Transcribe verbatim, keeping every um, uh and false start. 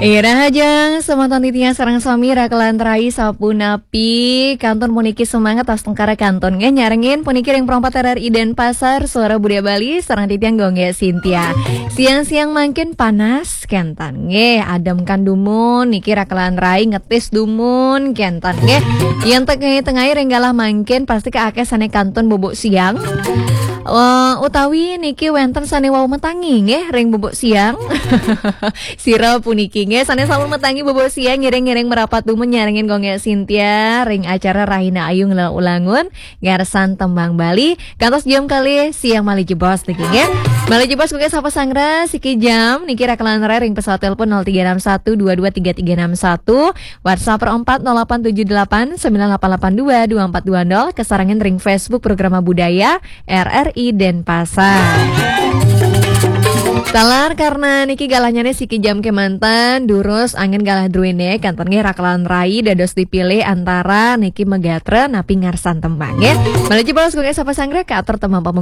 Ira hajeng, semeton titiang sareng sami rakelan rai sapunapi, kantun puniki semangat astungkara kantun nggih nyarengin puniki ring Pro empat R R I Denpasar, Suara Budaya Bali, sareng titiang Gung Gék Sintia. Siang-siang mangkin panas, kénten nggih, adem kan dumun, niki rakelan rai ngetis dumun, kénten nggih. Yén tengah-tengah ring galah mangkin, pasti ka akéh sané kantun bubuk siang. Eh, utawi niki wénten sané wau matangi nggih ring bubuk siang. Sira puniki nggih sané sampun matangi bubuk siang ngiring-ngiring merapat dumun nyarengin Gung Gék Sintia ring acara Rahina Ayu Ngelela Ulangun ngarsan tembang Bali kantos jam kalih siang malih jebos niki nggih. Malih jebos Gung Gék sapa sanggra siki jam niki rakelan rai ring pesawat telepon nol tiga enam satu dua dua tiga tiga enam satu, WhatsApp nol empat nol delapan tujuh delapan sembilan delapan delapan dua dua empat dua nol, kasarengin ring Facebook Programa Budaya R R I Denpasar. Taler karena niki galahnyané siki jam kémanten, durus anggén galah druéné, kantun nggih rakelan rai dados dipilih antara niki magatra napi ngarsan tembang nggih. Malih jebos Gung Gék sapa sanggra katur tembang pamungkas